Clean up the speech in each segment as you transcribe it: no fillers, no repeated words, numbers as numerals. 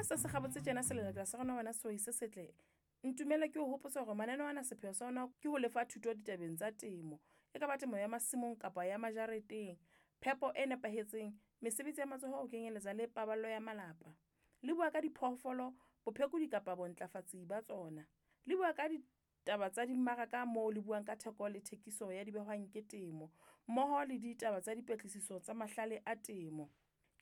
se se kgabotse tjena selelekela sa rona wena sehwai se setle, ntumelle ke o hopotse hore mananeo ana sepheo sa ona ke ho lefa thuto ditabeng tsa temo. E ka ba temo ya masimong kapa ya majareteng, phepo e nepahetseng, mesebetsi ya matsoho ho kenyeletsa le paballo ya malapa. Le bua ka diphoofolo, bophekodi kapa bontlafatsi ba tsona. Le bua ka ditaba tsa dimmaraka moo le buang ka theko le thekiso ya dibehwang ke temo, mmoho le ditaba tsa dipatlisiso tsa mahlale a temo.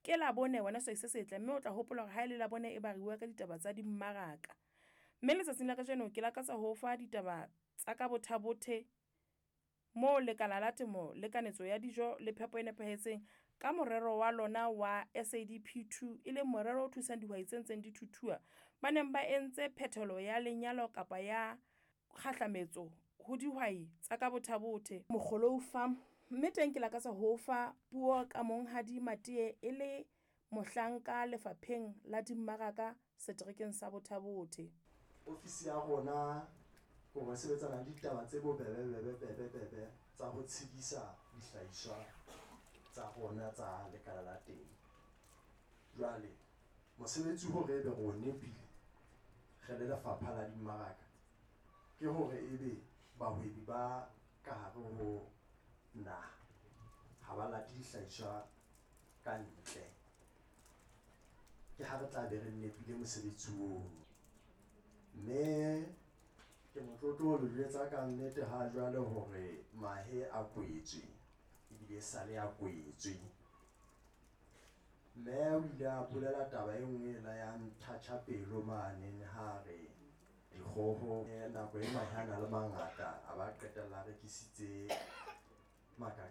Ke Labone wena sehwai se setle mme o tla hopola hore ha ele Labone e ba re bua ka ditaba tsa dimmaraka. Mme letsatsing la kajeno ke lakatsa ho fa ditaba tsa ka Botha Bothe moo lekala la temo le kanetso ya dijo le phepo e nepahetseng ka morero wa lona wa SADP 2 e leng morero o thusang dihwai tse ntseng di thuthua, ba neng ba entse phethelo ya lenyalo kapa ya kgahlametso ho dihwai tsa ka Botha Bothe Mogolou Farm. Mme teng ke lakatsa ho fa puo ka Monghadi Matiye e le mohlanka lefapheng la dimmaraka seterekeng sa Botha Bothe. Ofisi ya rona hore sebetsana le ditaba tse bobebe bebe bebe bebe tsa ho tshedisa dihlahiswa tsa rona tsa lekala la temo. Jwale mosebetsi hore ebe re o nepile re le lefapha la dimmaraka ke hore ebe bahwebi ba ka hare ho naha ha ba late dihlahiswa ka ntle. Ke ha re tla be re nepile mosebetsi ono. Mme ke motlotlo ho le jwetsa ka nnete ha jwale hore mahe a kwetswe ebile sale a kwetswe. Mme o ile a bolela taba e nngwe e la ya nthatjha pelo mane ha re dikgoho nako e mahe a na le mangata a ba qetella a rekisitse.